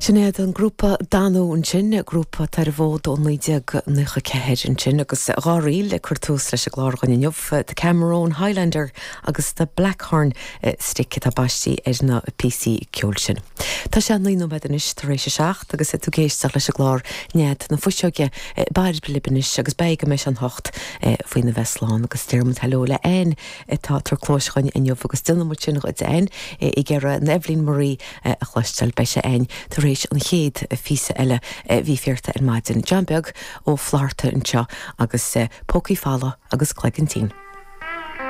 Sin iad an grúpa Danú ansin, grúpa atá ar an bhfód ó 1994 ansin agus dá ríl ag cur tús leis an gclár againn inniu, The Cameron Highlander agus The Blackhorn Stick atá baistí ar na píosaí ceoil sin. Tá sé 9 nóiméad anois tar éis a 7 agus tú ag éisteacht leis an gclár Nead na Fuiseoige. Bairbre libh anois agus beidh go mbeidh sé an hocht faoina bheith slán agus deir muid hello le Anne atá ag tabhairt cluais dhuinn inniu agus déanann muid sin dhuit Anne ag iarraidh an Eibhlín Marie a chloisteáil. Beidh sé a'inn tar éis an chéad phíosa eile a bhí fíorta ar maidin. John Beag Ó Flatharta anseo agus Pócaí Folamh agus Cloigeann Tinn.